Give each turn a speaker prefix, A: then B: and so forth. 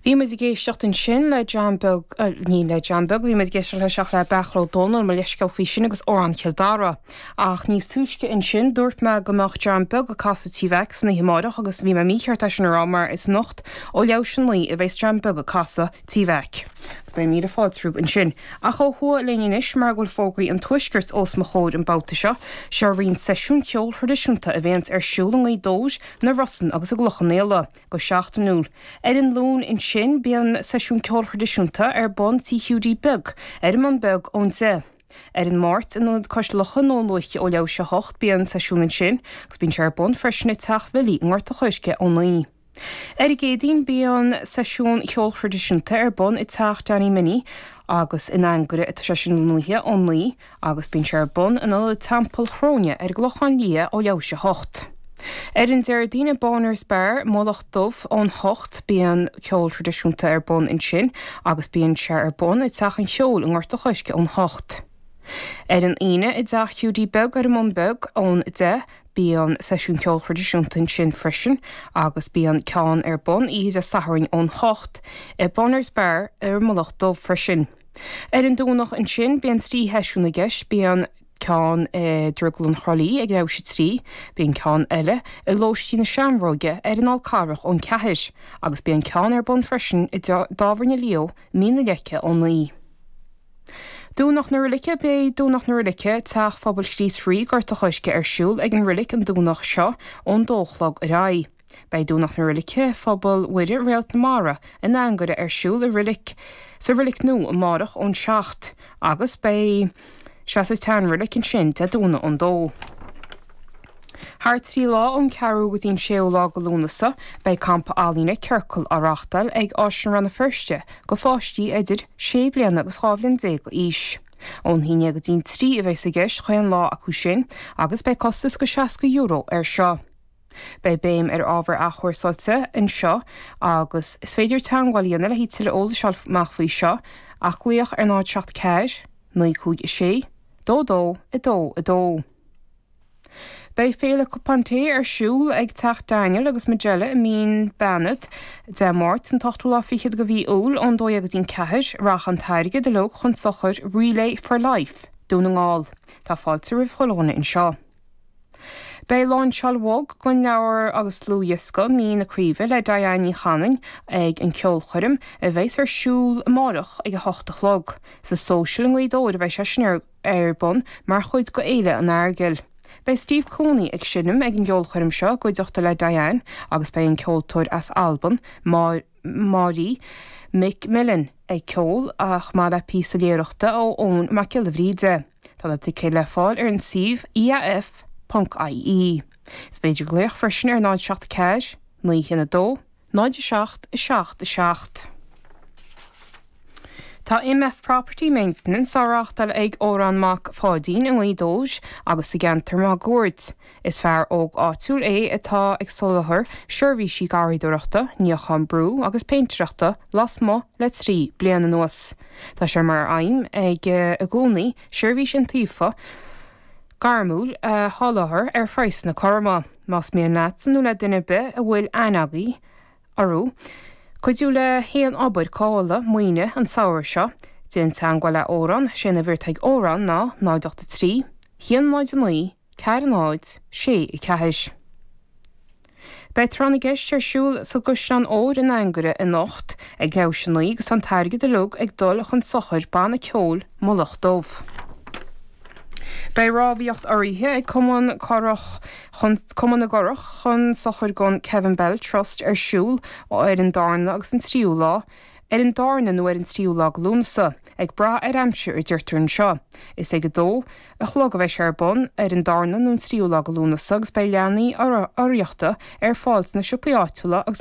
A: Bhí muid ag éisteacht ansin le John Beag, ní le John Beag a bhí muid ag éisteacht leis ach le Beartla Ó Dónaill, mo leithscéal faoi sin, agus Amhrán Chill Dara. Ach níos túisce ansin dúirt mé go mbeadh John Beag ag casadh Tí Mheaic san oíche amáireach agus bhí mé mícheart é sin a rá mar is anocht ó leathuair théis a 9 a bheas John Beag ag casadh Tí Mheaic. Agus beidh míle fáilte rompu ansin. Ach ó thuaidh linn anois mar go bhfuil fógraí an Tuaiscirt os mo chomhair an babhta seo, seo roinnt seisiún ceoil thraidisiúnta a bhéanns ar siúl i nGaoth Dobhair, na Rosann agus i gCloich Cheann Fhaola. Go seachtainiúil. Ar an Luan ansin bíonn seisiún ceoil thraidisiúnta ar bun Tí Hiúdaí Beag ar an mBun Beag ón 10. Ar an Máirt in Ionad Cois Locha i nDún Lúiche ó leathuair théis a 8 bíonn seisiún ansin agus bíonn sé ar bun freisin i dTeach Bhilly i nGort a' Choirce ó 9. Ar an gCéadaoin bíonn seisiún cheoil thraidisiúnta ar bun i dTeach Danny Minnie agus in Anagaire atá sé sin lonnaithe ón 9. agus bíonn sé ar bun in Ionad Teampall Chróine ar an gClochán Liath ó leathuair théis a hocht. Ar an Déardaoin i Bonner's Bar, Mullach Dubh, ón hocht, bíonn ceol traidisiúnta ar bun ansin agus bíonn sé ar bun i dTeach an Cheoil i nGort a' Choirce ón hocht. Ar an Aoine i dTeach Hiúdaí Beag ar an mBun Beag ón deich, bíonn seisiún ceoil thraidisiúnta ansin freisin agus bíonn ceann ar bun oíche Dé Sathairn ón hocht i Bonner's Bar ar an Mullach Dubh freisin. Ar an Domhnach ansin bíonn 3 sheisiún i gceist, bíonn ceann i Drioglann Thrá Lí ag leathuair théis a 3, bíonn ceann eile i Lóistín na Seamróige ar an Fhál Carrach ón 4 agus bíonn ceann ar bun freisin i dTábhairne Leo i Mín na Leice ón 9. Domhnach na Roilice Beidh Domhnach na Roilice, Teach Phobail Chríost Rí, Gort a' Choirce ar siúl ag an roilic an Domhnach seo ón dó a chlog ar aghaidh. Beidh Domhnach na Roilice, Phobal Mhuire Réalt na Mara, in Anagaire ar siúl i Roilic sa Roilic Nua amárach ón 7 agus beidh sé sa tSean-Roilic ansin Dé Domhnaigh ón 2. Thar 3 lá ón 4ú go dtí an 6ú lá go Lúnasa beidh campa ealaíne Ciorcal á reáchtáil ag Áislann Rann na Feirste go pháistí idir 6 bliana agus 12 bhliain d'aois. Ón 11 go dtí an 3 a bheas i gceist chaon lá acu sin agus beidh costas go €60 air seo. Beidh béim ar ábhar athchúrsáilte anseo agus is féidir teagmháil a dhéanamh le haghaidh tuilleadh eolais a fháil amach faoi seo ach glaoch ar 0 7 4 9 5 6 2 2 2 2. Beidh Féile Cupán Tae ar siúl ag Teach Daniel agus Majella i Mín Beanad Dé Máirt an t-ochtú lá fichead de mhí Iúil ón 12 go dtí an 4. Rachaidh an t-airgead uilig chun sochair Relay for Life, Dún na nGall. Tá fáilte roimh chuile dhuine anseo. Beidh láinseáil bhog den leabhar agus dlúthdhiosca Mín na Craoibhe le Diane Ní Chanainn ag an ceolchoirm a bheas ar siúl amárach ag 8 a chlog. Sa Social i nGaoth Dobhair a bheidh sé sin ar bun mar chuid de Fhéile an Eargail. Beidh Steve Cooney ag seinm ag an gceolchoirm seo i gcuideachta le Diane agus beidh an ceoltóir as Albain, Màiri McMillan ag ceol chomh maith le píosa léitheoireachta ó Eoin Mac Giolla Bhríde. Tá na ticéid le fáil ar an suíomh iaf.ie. Is féidir glaoch freisin ar 0 7 4 9 1 2 0 7 7 7. Tá MF Property Maintenance á reáchtáil ag Odhrán Mac Pháidín i nGaoth Dobhair agus sa gceantar máguaird. Is fear óg áitiúil é atá ag soláthar seirbhísí garraíodóireachta, níochán brú agus péintéireachta lasmuigh le 3 bliana anuas. Tá sé mar aidhm aige i gcónaí seirbhís iontaofa, gairmiúil a sholáthar ar phraghsanna cothroma. Más mian leatsa nó le duine ar bith a bhfuil aithne agaibh orthu cuidiú le haon obair cothabhála maoine an samhradh seo, déan teagmháil le Odhrán, sé an uimhir atá ag Odhrán ná 0 8 3 1 0 9 4 0 6 4. Beidh Tráth na gCeist ar siúl sa gCaisleán Óir in Anagaire anocht ag leathuair théis a 9 agus tá an t-airgead uilig ag dul chun sochair Banna Ceoil Mullach Dubh. Beidh rámhaíocht urraithe ag Cumann Curach chun Cumann na gCurach chun sochair don Kevin Bell Trust ar siúl ar an darna agus an tríú lá ar an darna nó ar an tríú lá de Lúnasa, ag brath ar aimsir a deirtear anseo. Is ag a dó a chlog a bheidh sé ar bun ar an darna nó an tríú lá de Lúnasa agus beidh leanaí urraíochta ar fáil sna siopaí áitiúla agus.